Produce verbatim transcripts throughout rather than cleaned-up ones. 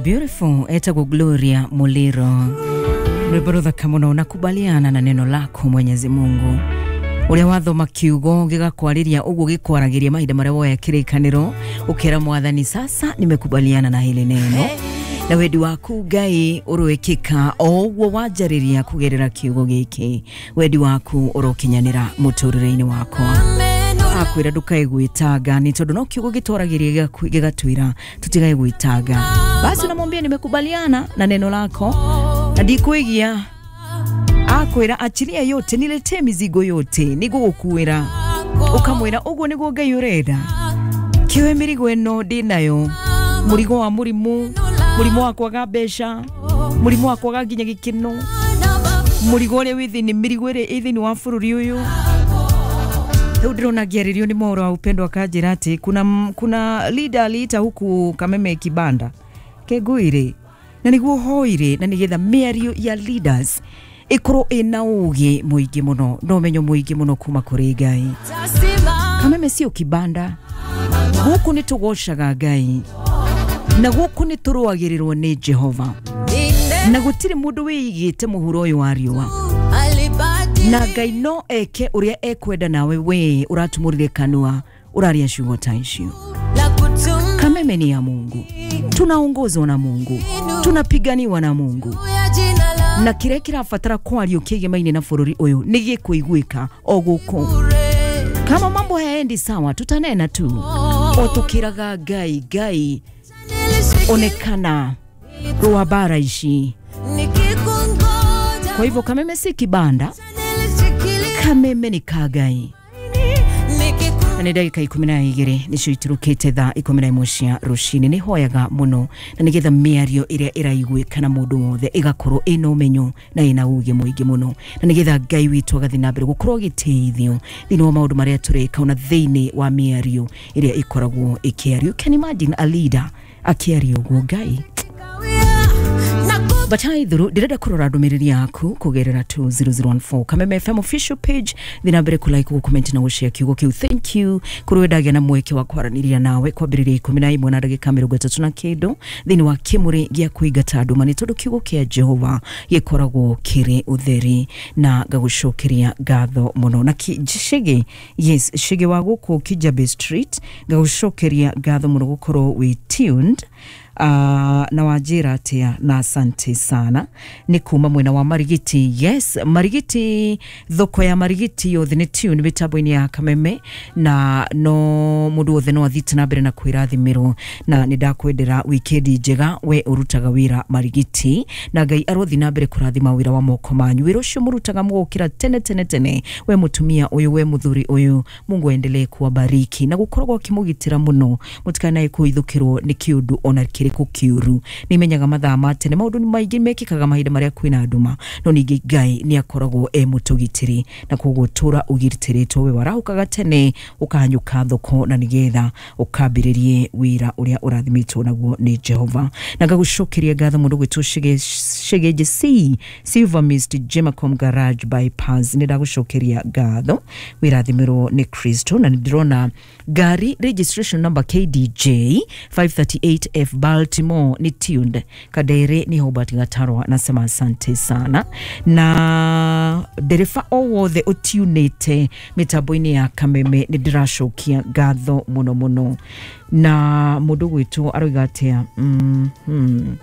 Beautiful. Etagwo Gloria Muliro, rwĩmbo rũthaka mũno. Nakubaliana na neno lako Mwenyezi Mungu. Ũrĩa wathoma kiugo gĩgakwarĩria ũguo gĩkwaragĩria mahinda marĩa woya kĩrĩkanĩro, ũkera Mwathani, sasa nimekubaliana na hili neno, na wendi waku Ngai ũrwĩkĩka o ũguo wanjarĩria kũgerera kiugo gĩkĩ. Wendi waku ũrokinyanĩra mũtũrĩre-inĩ wakwa. Akwĩra ndũkae gwĩtanga, nĩ tondũ no kiugo gĩtwaragĩria gĩgatwĩra tũtigae gwĩtanga. Basi unamwambia, nimekubaliana na neno lako na ndikwigia. Akwĩra, achilia yote, niletee mizigo yote, nĩngũgũkuĩra. Ũkamwĩra ũguo nĩguo Ngai ũrenda, kĩoe mĩrigo ĩno ndĩnayo, mũrigo wa mũrimũ, mũrimũ wa kwaga mbeca, mũrimũ wa kwaga nginya gĩkeno, mũrigo ũrĩa wĩ thĩinĩ, mĩrigo ĩrĩa ĩ thĩinĩ wa bũrũri ũyũ. Rĩu ndĩrona ngĩarĩrio nĩ mohoro wa upendo, akanjĩra atĩ kuna, kuna leader aliita huku Kameme kibanda kengũire na nĩguo hoire, na nĩgetha mĩario ya leaders ĩkorwo ĩna ũgĩ mũingĩ mũno na ũmenyo mũingĩ mũno kuma kũrĩ Ngai. Kameme sio kibanda, gũkũ nĩ tũgocaga Ngai na gũkũ nĩ tũrũagĩrĩrwo nĩ Jehova, na gũtirĩ mũndũ wĩigĩte mũhuro ũyũ wa riũa, na Ngai no eke ũrĩa ekwenda. Nawe we ũratumũrire kanua ũraria ciugo ta icio. Kameme ni ya Mungu, tunaongozwa na Mungu, tunapiganiwa na Mungu, na kĩrĩa kĩrabatara kwario kĩgemaine na bũrũri ũyũ nĩ gĩkũiguĩka o gũkũ. Kama mambo hayaendi sawa, tutanena tu o tukiraga Ngai, Ngai onekana, rũa bara ici. Kwa hivyo Kameme si kibanda, Kameme ni ka Ngai. Na nĩ ndagĩka ikũmi na igĩrĩ nĩcio iturũkĩte thaa ikũmi na ĩmwe cia rũcinĩ. Nĩ hoyaga mũno na nĩgetha mĩario ĩrĩa ĩraiguĩka na mũndũ wothe ĩgakorwo ĩna ũmenyo na ĩna ũgĩ mũingĩ mũno, na nĩgetha Ngai witũ agathiĩ na mbere gũkorwo agĩteithio thĩinĩ wa maũndũ marĩa tũreka, ona thĩinĩ wa mĩario ĩrĩa ĩkoragwo ĩkĩario. Can imagine a leader akĩaria ũguo? Ngai. But ithuru ndĩrenda kũrora ndũmĩrĩri yaku kũgerera two zero zero one four, Kameme F M official page. Thiĩ na mbere kũlike, gũcomment na gũshare kiugo kĩu. Thank you kũrĩ we ndagĩa na mweke wa kwaranĩria nawe kwambĩrĩria ikũmi na ĩmwe na ndagĩka mĩrongo ĩtatũ na kĩndũ thĩinĩ wa kĩmũrĩ gĩa kũingata nduma, nĩ tondũ kiugo kĩa Jehova gĩkoragwo kĩrĩ ũtheri, na ngagũcokeria ngatho mũno. Na Shege, yes, Shege wa gũkũ Kijabe Street, ngagũcokeria ngatho mũno gũkorwo wĩ tuned uh, na wanjĩra atĩa, na asante sana. Nĩ kuma mwena wa Marigiti. Yes, Marigiti, thoko ya Marigiti yothe nĩ tune mĩtambo-inĩ ya Kameme, na no mũndũ wothe no athiĩte na mbere na kwĩrathimĩrwo, na nĩ ndakwendera wikendi njega we ũrutaga wĩra Marigiti, na Ngai arothi na mbere kũrathima wĩra wa moko manyu, wĩra ũcio mũrutaga mũgũkĩra tene tene tene. We mũtumia ũyũ, we mũthuri ũyũ, Mungu aendelee kuwabariki na gũkoragwo akĩmũgitĩra mũno, mũtikanae kũhithũkĩrwo nĩ kĩũndũ ona kĩrĩkũ kĩũru. Nĩ menyaga mathaa ma tene maũndũ nĩ maingĩ mekĩkaga mahinda marĩa kwĩna nduma, no ningĩ Ngai nĩ akoragwo e mũtũgitĩri, na koguo tũra ũgitĩrĩtwo we warahũkaga tene ũkahanyũka thoko na nĩgetha ũkambĩrĩrie wĩra ũrĩa ũrathimĩtwo naguo nĩ Jehova. Na ngagũcokeria ngatho mũndũ gwĩtwo Shege C Silver Mist, Jemacom Garage Bypass. Nĩ ndagũcokeria ngatho, wĩrathimĩrwo nĩ Kristo. Na nĩ ndĩrona ngari registration number K D J five thirty-eight F Baltimore ni tuned Kadere ni Hobart Gatarwa, nasema asante sana. Na ndereba o wothe ũtiunĩte mĩtambo-inĩ ya Kameme, nĩ ndĩracokia ngatho mũno mũno. Na mũndũ gwĩtwo aroiga atĩa? mm -hmm.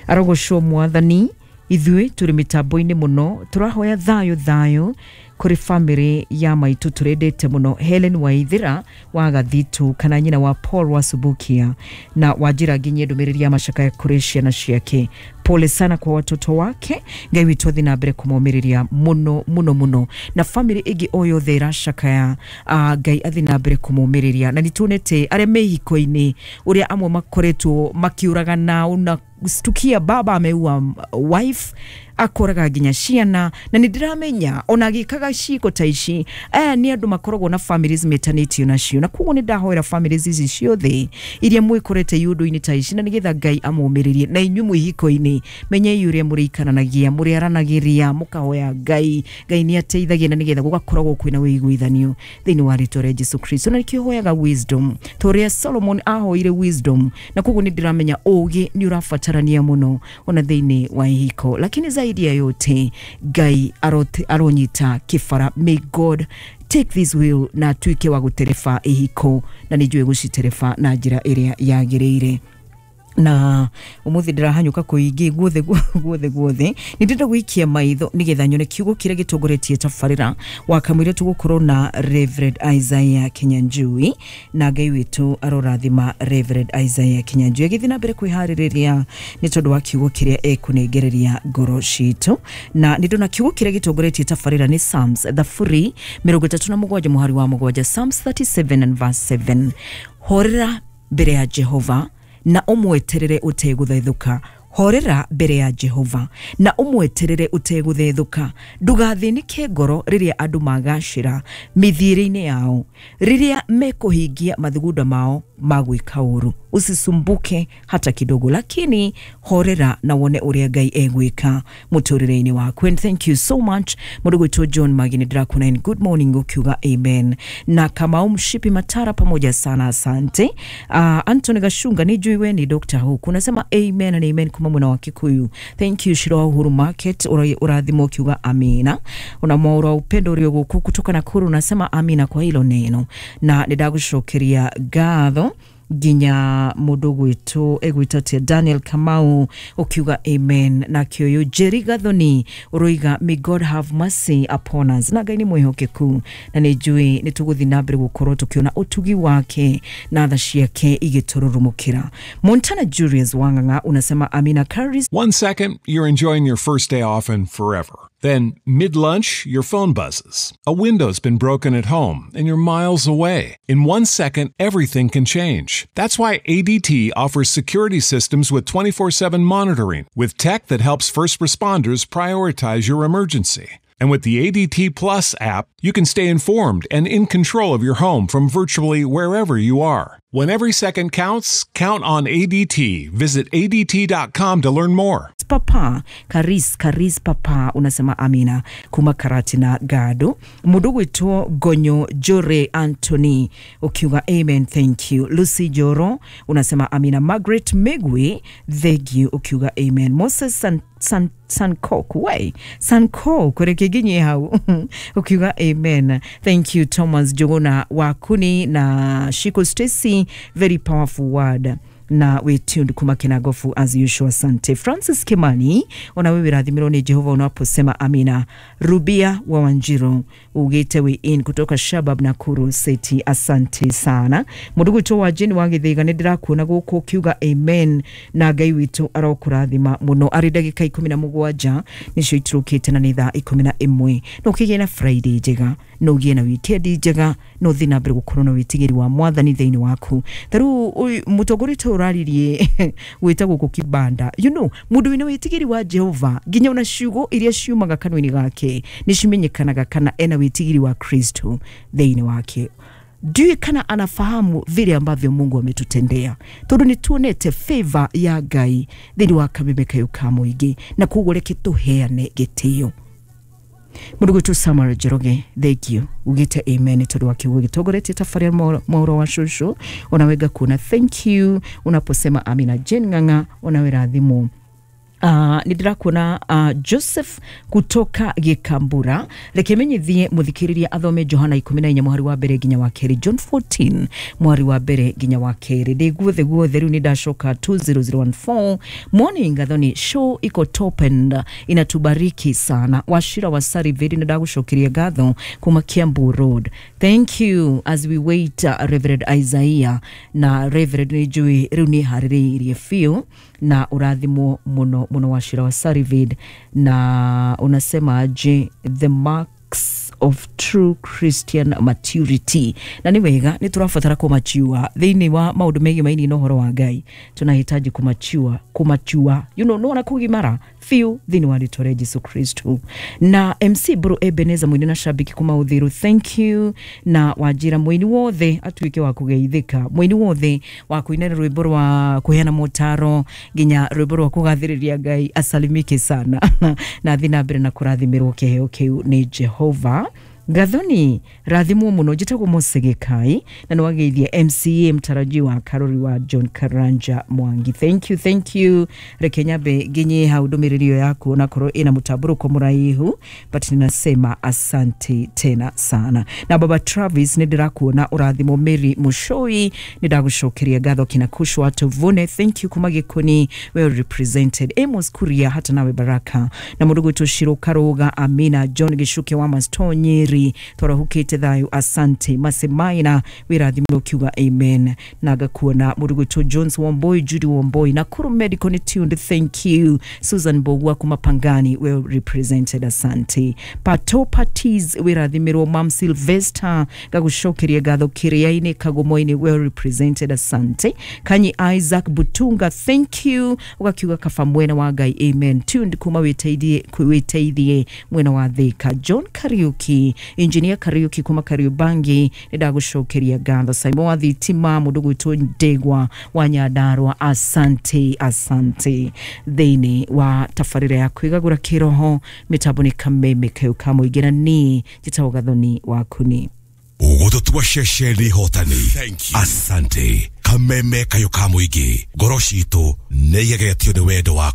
Arogocwo Mwathani, ithuĩ tũrĩ mĩtambo-inĩ mũno, tũrahoya thayũ thayũ kũrĩ famĩlĩ ya maitũ tũrendete mũno, Helen Waithira wa Gathitu, kana nyina wa Paul wa Subukia, na wanjĩra nginyie ndũmĩrĩri ya macakaya kũrĩ ciana ciake. Pole sana kwa watoto wake. Ngai witũ athi na mbere kũmomĩrĩria mũno mũno mũno, na famĩlĩ ĩngĩ o yothe ĩracakaya, uh, Ngai athi na mbere kũmomĩrĩria. Na nĩtuonete arĩa me ihiko-inĩ ũrĩa amwe makoretwo makiũragana, una stukia baba ameua wife. Akoraga nginya ciana, na nĩ ndĩramenya ona agĩkaga ciĩko ta ici, aya nĩ andũ makoragwo na families metanĩtio nacio. Na koguo nĩ ndahoera families ici ciothe iria mwĩkorete iũndũ-inĩ ta ici, na nĩgetha Ngai amũmĩrĩrie. Na inyuĩ mwĩ ihiko-inĩ, menyei ũrĩa mũrĩikaranagia, mũrĩaranagĩria, mũkahoya Ngai. Ngai nĩ ateithagia, na nĩgetha gũgakoragwo kwĩna ũiguithanio thĩinĩ wa rĩtwa rĩa Jesu Kristo. Na nĩkĩo hoyaga wisdom, ta ũrĩa Solomon ahoire wisdom. Na koguo nĩ ndĩramenya ũgĩ nĩ ũrabatarania mũno ona thĩinĩ wa ihiko, lakini zaidi ya yote Ngai aronyita kĩbara. May God take this wheel na atuĩke wa gũtereba ihiko, na nĩ njũĩ gũcitereba na njĩra ĩrĩa yagĩrĩire. Na umuthi ndĩrahanyũka kũingĩ guothe guothe guothe, nĩ ndĩrenda gũikia maitho nĩgetha nyone kiugo kĩrĩa gĩtongoretie tabarĩra. Wakamwĩra tũgũkorwo na Reverend Isaiah Kinyanjui, na Ngai witũ arorathima Reverend Isaiah Kinyanjui agĩthiĩ na mbere kwĩharĩrĩria nĩ tondũ wa kiugo kĩrĩa ekũnengereria ngoro citũ. Na nĩ ndona kiugo kĩrĩa gĩtongoretie tabarĩra nĩ Psalms thaburi mĩrongo ĩtatũ na mũgwanja mũhari wa mũgwanja, Psalms thirty-seven and verse seven. Horera mbere ya Jehova na ũmweterere ũtegũthethũka. Horera mbere ya Jehova na ũmweterere ũtegũthethũka. Ndũgathĩnĩke ngoro rĩrĩa andũ magacĩra mĩthiĩre-inĩ yao, rĩrĩa mekũhingia mathugunda mao ma gwĩka ũru. Usisumbuke hata kidogo, lakini horera na wone ũrĩa Ngai egwĩka mũtũrĩre-inĩ waku. And thank you so much mũndũ gwĩtwo John Magi, nĩ ndĩrakuona in good morning ukiuga amen. Na Kamau Mshipi Matara, pamoja sana, asante. Uh, Anthony Gashunga, nĩ njũĩ we ni Doctor huku, unasema amen and amen kuma mwena wa Kikuyu. Thank you. Shiro wa Uhuru Market, ũrathimwo ukiuga amina. Una mwaura upendo ũrĩ gũkũ kutoka Nakuru, unasema amina kwa hilo neno. Na nĩ ndagũcokeria ngatho nginya mũndũ gwĩtwo egwĩtwo atĩa, Daniel Kamau ukiuga amen. Na kĩoyo Jerry Gathoni ũroiga may God have mercy upon us. Na Ngai nĩ mwĩhokeku, na nĩ njũĩ nĩ tũgũthiĩ na mbere gũkorwo tũkĩona ũtugi wake na tha ciake igĩtũrurumũkĩra. Montana Julius Wang'ang'a unasema amina. Caris. One second you're enjoying your first day off and forever. Then, mid-lunch, your phone buzzes. A window's been broken at home, and you're miles away. In one second, everything can change. That's why A D T offers security systems with twenty-four seven monitoring, with tech that helps first responders prioritize your emergency. And with the A D T Plus app, you can stay informed and in control of your home from virtually wherever you are. When every second counts, count on A D T. Visit A D T dot com to learn more. Papa Karis Karis Papa unasema amina kuma Karati na Gado. Mũndũ gwĩtwo Gonyo Jore Anthony ukiuga amen, thank you. Lucy Joro unasema amina. Margaret Megwe, thank you ukiuga amen. Moses San San Sankok we Sankok rekeginye hau ukiuga amen, thank you. Thomas Jogona Wakuni na Shiko Stacy, very powerful word. Na we tuned kuma Kinagofu as usual, asante. Francis Kimani, ona wewe rathimirwo ni Jehova unaposema amina. Rubia wa Wanjiro ugite we in kutoka Shabab Nakuru City, asante sana. Mũndũ gwitũ wa Jane wa Gĩthĩga, nĩ ndĩrakuona gũkũ ukiuga amen, na Ngai witũ arokũrathima mũno. Arĩ ndagĩka ikũmi na mũgwanja nĩcio iturũkĩte na nĩ thaa ikũmi na ĩmwe. No ũkĩgĩe na Friday njega, no ũgĩe na weekend njega, no ũthiĩ na mbere gũkorwo na wĩtigĩri wa Mwathani thĩinĩ waku. Ta rĩu mũtongoria ũyũ ũraririe wĩtagwo gũkũ Kibanda, you know, mũndũ wĩna wĩtigĩri wa Jehova nginya ona ciugo iria ciumaga kanua-inĩ gake nĩ cimenyekanaga kana ena wĩtigĩri wa Kristo thĩinĩ wake. Ndiũĩ kana anafahamu vile ambavyo Mungu ametutendea, tondũ nĩ tuonete favor ya Ngai thĩinĩ wa kameme kayũ ka mũingĩ, na koguo reke tũheane gĩtĩo. Mũndũ gwĩtwo Samuel Njoroge, thank you ugĩte amen tondũ wa kiugo gĩtongoretie tabarĩra mwaũro wa cũcũ. Ona we ngakuona, thank you unaposema amina. Jane Ng'ang'a, ona we rathimwo. Uh, nĩ ndĩrakuona uh, Joseph kutoka Gĩkambura. Reke menyithie mũthikĩrĩria athome Johana ikũmi na inya mũhari wa mbere nginya wa kerĩ, John fourteen mũhari wa mbere nginya wa kerĩ. Ndĩ guothe guothe rĩu nĩ ndacoka two zero zero one four. Morning Gathoni, show iko top and inatubariki sana. Washira wa Sariveri, nĩ ndagũcokeria ngatho kuma Kiambu Road. Thank you as we wait uh, Reverend Isaiah na Reverend nĩ njũĩ rĩu nĩ harĩrĩirie biũ na ũrathimwo mũno mũno Washira wa Sarivid. Na unasema je, the mark Marks of true Christian maturity. Na nĩ wega, nĩ tũrabatara kũmachua thĩinĩ wa maũndũ megiĩ mainĩ na ũhoro wa Ngai. Tunahitaji kumachua kumachua you know, nona kugimara biũ thĩinĩ wa rĩtwa rĩa Jesu Kristo. Na M C Bro Ebeneza, mũini na shabiki kuma Uthiru, thank you. Na wanjĩra mũini wothe atuĩke wa kũgeithĩka, mũini wothe wa kũina rwĩmbo rwa kũheana motaro nginya rwĩmbo rwa kũgathĩrĩria Ngai asalimike sana na thiĩ na mbere na kũrathimĩrwo kĩheo kĩu nĩ Jehova. Gathoni, rathimwo muno. Njĩtagwo Mosegekai na nĩwageithia M C A mtarajiwa Karori wa John Karanja Mwangi. Thank you, thank you. Reke nyambe nginye hau ndũmĩrĩri ĩyo yaku, onakorwo ĩna mũtambũrũko mũraihu, but ninasema asante tena sana. Na baba Travis, nĩ ndĩrakuona, ũrathimwo. Mary Mushoi, nĩ ndagũcokeria ngatho. Kina Kushwa Tuvune, thank you, kuma Gĩkũni, well represented. Amos Kuria, hata nawe baraka. Na mũndũ gwĩtwo Shiro Karuga, Amina. John Gĩcuke wa Masto Nyeri, twarahukĩte thayũ, asante. Masemaina, wĩrathimwo, ukiuga amen. Na ngakuona mũndũ gwĩtwo Jones Wamboi, Judy Wamboi, Nakuru Medical ni tuned, thank you. Susan Bogwa kuma Pangani, well represented, asante. Pato Parties, wĩrathimirwo. Mam Sylvester, ngagũcokeria ngatho. Kĩrĩa-inĩ Kagomo-inĩ, well represented, asante. Kanyi Isaac Butunga, thank you. Ũgakiuga kaba mwena wa Ngai, amen. Tuned kuma wĩteithie wĩteithie mwena wa Thika. John Kariuki, Engineer Kariuki kuma Kariubangi, nĩ ndagũcokeria ngatho. Simon wa Thitima, mũndũ gwĩtwo Ndegwa wa Nyandarua, asante, asante. Thĩinĩ wa tabarĩra ya kwĩgagũra kĩroho, mĩtambo nĩ Kameme kayũ ka mũingĩ, na niĩ njĩtagwo Gathoni Wakuni. Ũgũtũtua ceceni hotani. Asante. Kameme kayũ ka mũingĩ, ngoro citũ nĩ igegetio nĩ wendo waku.